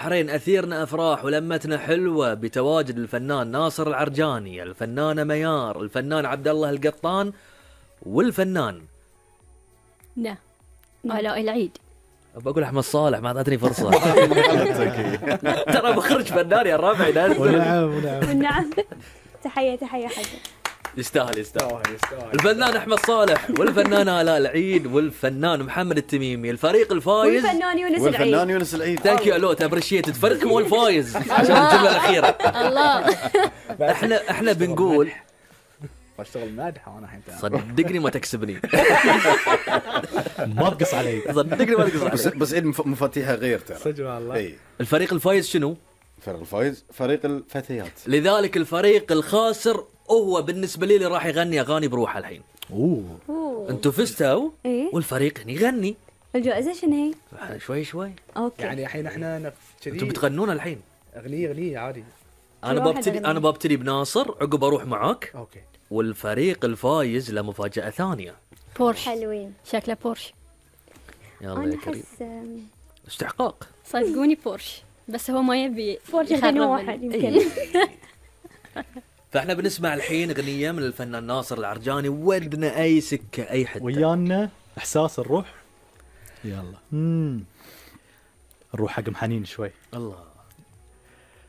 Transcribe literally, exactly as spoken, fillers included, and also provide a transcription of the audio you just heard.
حرين أثيرنا أفراح ولمتنا حلوة بتواجد الفنان ناصر العرجاني، الفنانة ميار، الفنان عبد الله القطان، والفنان لا علاء العيد. بقول أحمد صالح، ما أعطتني فرصة. ترى بخرج فنان يا الربع. ونعم ونعم نعم. تحية تحية حاجة. يستاهل يستاهل الفنان أحمد صالح والفنانة آلاء العيد والفنان محمد التميمي، الفريق الفايز والفنان يونس العيد. والفنان يونس العيد. ثانك يو الوت ابريشيتد. فريقكم هو الفايز عشان الجملة الأخيرة. الله. احنا احنا بنقول بشتغل مادحة وانا الحين. صدقني ما تكسبني. ما تقص علي. صدقني ما تقص علي. بس بس عيد مفاتيحها غير ترى. صدق والله. اي الفريق الفايز شنو؟ فريق الفايز فريق الفتيات. لذلك الفريق الخاسر هو بالنسبة لي اللي راح يغني أغاني بروحه الحين. اوه أوه. انتوا فزتوا إيه؟ والفريق يغني الجائزة شنو هي؟ شوي شوي. اوكي. يعني الحين احنا نف- كذي انتوا بتغنون الحين. اغنية اغنية عادي. انا كل واحد ببتدي يغني. انا ببتدي بناصر، عقب اروح معاك، اوكي. والفريق الفايز له مفاجأة ثانية. بورش، حلوين. شكله بورش. يلا أنا يا كريم. أحس آم، استحقاق. صدقوني بورش، بس هو ما يبي بورش يخرب يغني ال- واحد يمكن. إيه. فاحنا بنسمع الحين اغنية من الفنان ناصر العرجاني، ودنا اي سكة اي حتة. ويانا احساس الروح. يلا امم نروح حق محنين شوي. الله.